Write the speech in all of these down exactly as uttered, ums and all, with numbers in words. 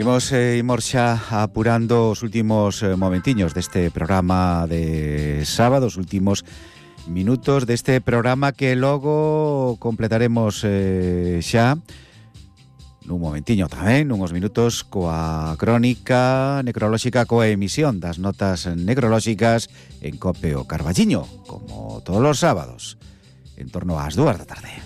Imos, eh, imos xa apurando os últimos eh, momentiños deste programa de sábado, os últimos minutos deste programa que logo completaremos eh, xa nun momentiño tamén, nuns minutos coa crónica necrolóxica, coa emisión das notas necrolóxicas en Cope o Carballiño, como todos os sábados, en torno ás dúas da tarde.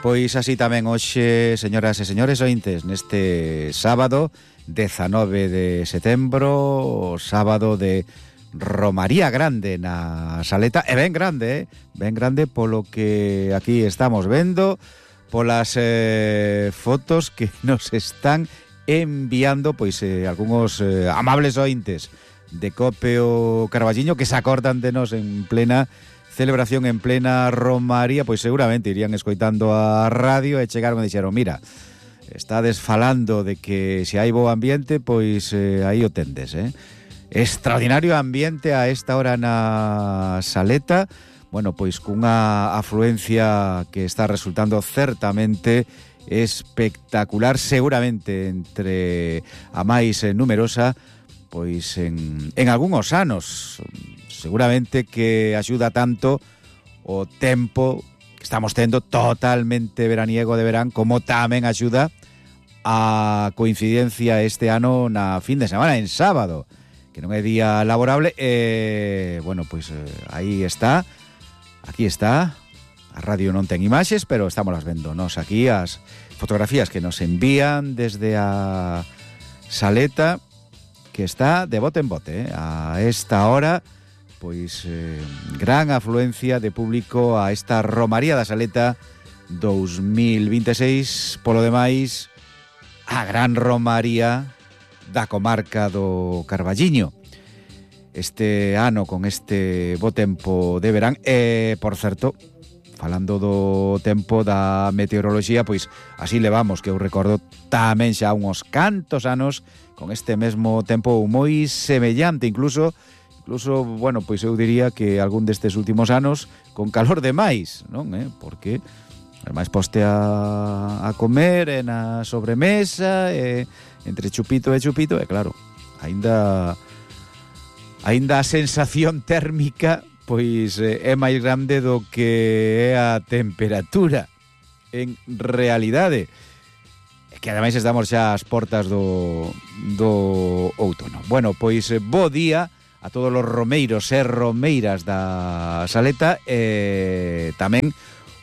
Pois así tamén hoxe, señoras e señores ointes, neste sábado dezanove de setembro, sábado de Romaría Grande na Saleta, e ben grande, eh? ben grande polo que aquí estamos vendo, polas eh, fotos que nos están enviando pois eh, algúns eh, amables ointes de Cope o Carballiño que se acordan de nos en plena celebración, en plena romaría, pois seguramente irían escoitando a radio e chegaron e dixeron, mira, estades falando de que se hai bo ambiente, pois eh, aí o tendes, eh? Extraordinario ambiente a esta hora na Saleta, bueno, pois cunha afluencia que está resultando certamente espectacular, seguramente entre a máis numerosa, pois en, en algúns anos. Seguramente que axuda tanto o tempo que estamos tendo totalmente veraniego de verán, como tamén axuda a coincidencia este ano na fin de semana, en sábado, que non é día laborable. E, bueno, pois eh, aí está, aquí está, a radio non ten imaxes, pero estamos las vendo nos aquí, as fotografías que nos envían desde a Saleta, que está de bote en bote, eh, a esta hora. Pois eh, gran afluencia de público a esta Romaría da Saleta dos mil veintiséis, polo demais a gran Romaría da comarca do Carballiño este ano con este bo tempo de verán. E, por certo, falando do tempo da meteoroloxía, pois así levamos, que eu recordo tamén xa uns cantos anos con este mesmo tempo moi semellante, incluso Incluso, bueno, pois eu diría que algún destes últimos anos con calor de máis, non? Eh? Porque ademais poste a, a comer e na sobremesa, e entre chupito e chupito, e claro, aínda aínda a sensación térmica pois é máis grande do que é a temperatura en realidade. É que ademais estamos xa ás portas do, do outono. Bueno, pois bo día a todos os romeiros e romeiras da Saleta, e tamén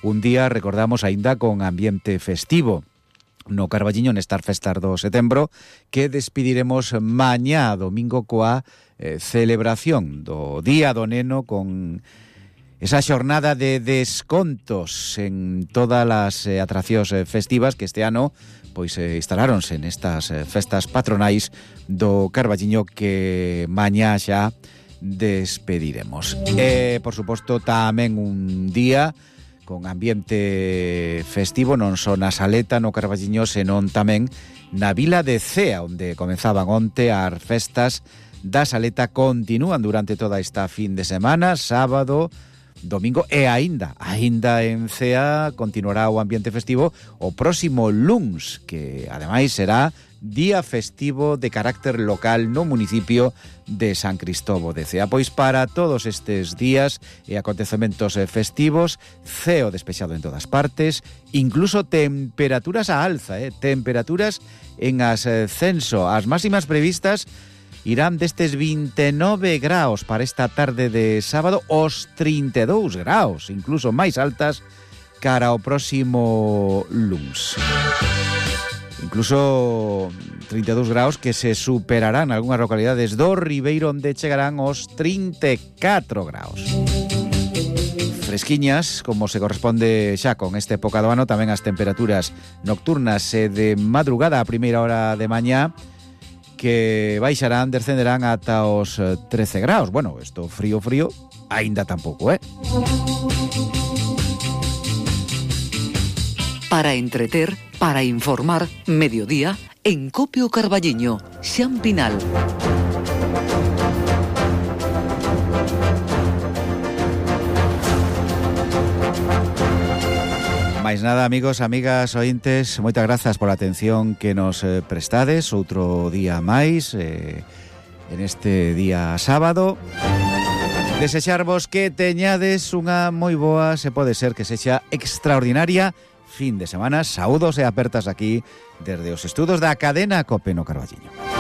un día, recordamos, aínda con ambiente festivo no Carballiño nestas festas do setembro, que despediremos mañá domingo coa eh, celebración do Día do Neno, con esa xornada de descontos en todas as eh, atraccións eh, festivas que este ano pois eh, instalaronse nestas eh, festas patronais do Carballiño, que mañá xa despediremos. E, por suposto, tamén un día con ambiente festivo, non só na Saleta, no Carballiño, senón tamén na vila de Cea, onde comenzaban onte as festas da Saleta, continúan durante toda esta fin de semana, sábado, domingo, e aínda, aínda en Cea continuará o ambiente festivo o próximo luns, que ademais será día festivo de carácter local no municipio de San Cristóbal de Cea. Pois para todos estes días e acontecementos festivos, ceo despexado en todas partes, incluso temperaturas a alza, eh? temperaturas en ascenso. As máximas previstas irán destes vinte e nove graos para esta tarde de sábado, os trinta e dous graos, incluso máis altas cara ao próximo luns. Incluso trinta e dous graos que se superarán algunhas localidades do Ribeiro, onde chegarán os trinta e catro graos. Fresquiñas, como se corresponde xa con esta época do ano, tamén as temperaturas nocturnas e de madrugada a primeira hora de mañá, que baixarán, descenderán ata os trece graos. Bueno, isto frío, frío, aínda tampouco, eh? Para entreter, para informar, mediodía, en Cope o Carballiño, Xan Pinal. Máis nada, amigos, amigas, ointes, moitas grazas pola atención que nos eh, prestades outro día máis eh, en este día sábado. Desexarvos que teñades unha moi boa, se pode ser que sexa extraordinaria fin de semana. Saúdos e apertas aquí desde os estudos da cadena COPE no Carballiño.